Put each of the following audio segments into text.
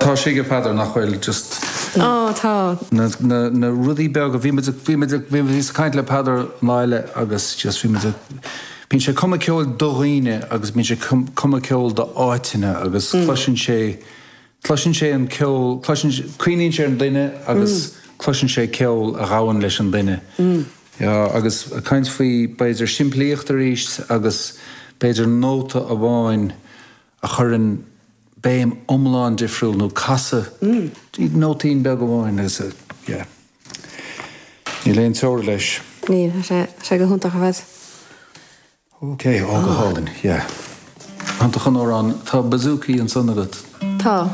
Tá sé ag Peadar nach bhfuil just. Ó tá. Na na na rudaí beaga bhí muid bhí muid bhí muid ag caint le Peadar an lá eile agus just bhí muid bíonn sé ag cumadh ceoil do dhaoine agus bíonn sé ag cumadh ceoil do áiteanna agus cloiseann sé cloiseann sé an ceol cloiseann cuimhníonn sé ar an duine agus cloiseann sé ceol a ghabhann leis an duine. Yeah agus ag caint faoi b'fhéidir simplíocht arís agus b'fhéidir nóta amháin a chuireann béim iomlán difriúil nó casadh nóitín beag amháin agus yeah. Níl aon teora leis. Níl, tá sé, tá sé go hiontach ar fad. Ok, ó go hálainn, yeah. Iontach an amhrán. Tá bouzouki ansan agat. Tá.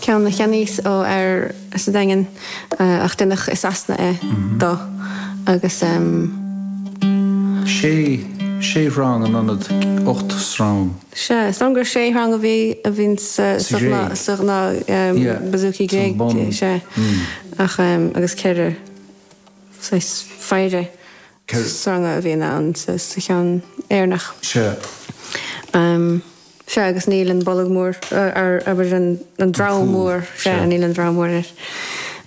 Ceann a cheannaíos ó fhear sa Daingean ach deineadh i Sasana é dó agus. Sé, sé shrang in ionad 8 srang. Sea, is dóigh liom gur sé shrang a bhí a bhíonn sa Sa Ghréig. sa ghnáth bouzouki Sa bun. Gréig, sea. Ach agus 4 saghas phéire sranga a bhíonn ann sa cheann Éireannach. Sea. Sea, agus níl an bolg mór, abair an drum mór, sea, níl an drum mór air.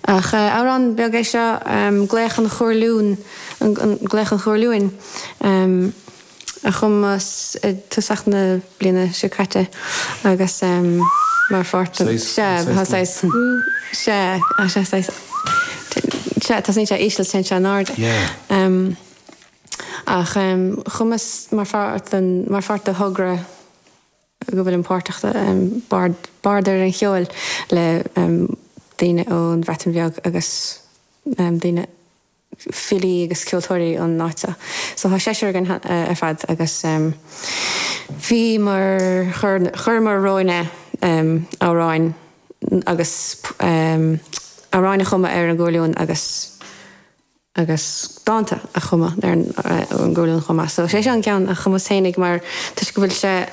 Ach amhrán beag é seo, Glaoch an Chuarliúin, Glaoch an Chuarliúin, a chumas i dtosach na bliana seo caite agus mar pháirt den, sea, tá saghas, sea, tá sé saghas, sea, tosaíonn sé íseal, téann sé in airde. Ach chumas mar pháirt den, mar pháirt de thogra go bhfuilim páirteach de, Bard, Bard ar an Cheol le daoine ón Bhreatain Bheag agus daoine, filí agus ceoltóirí ón áit seo. So tá seisear againn ar fad agus bhíomar, chuireamar romhainn amhráin agus amhráin a chumadh ar an gcuarliún agus agus dánta a chumadh ar an gcuarliún chomh maith. So sé seo an ceann a chumas féinig mar toisc go bhfuil sé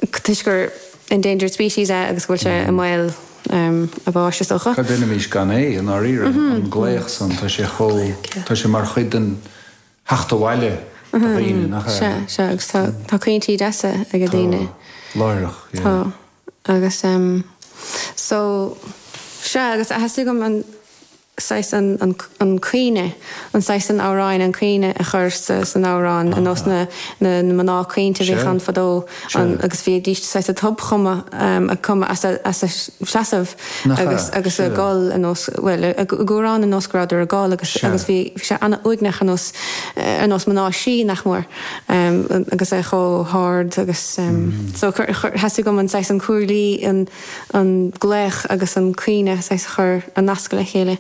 toisc gur endangered species é agus go bhfuil sé i mbaol a bháis is dócha. Cad a dhéanfaimis gan é, i ndáiríre, an glaoch san, tá sé chomh, tá sé mar chuid den theacht abhaile do dhaoine, nach ea? Sea, sea, agus tá, tá caointí deasa ag daoine. Tá, láithreach, yeah. Tá, agus so, sea, agus theastaigh uaim an, saghas an an caoineadh, an saghas an amhráin, an caoineadh a chur sa san amhrán, ar nós na na mná caointe a bhíodh ann fadó an agus bhídís saghas ag tobchumadh ag cumadh as a as a seasamh agus agus ag gol ar nós bhuel ag amhrán ar nós go rabhadar ag gol agus agus bhí bhí sé an-uaigneach ar nós ar nós mná sí nach mór agus é chomh hard agus so chuir chuir theastaigh uaim an saghas an cuarlí an an glaoch agus an caoineadh saghas a chur a nascadh le chéile.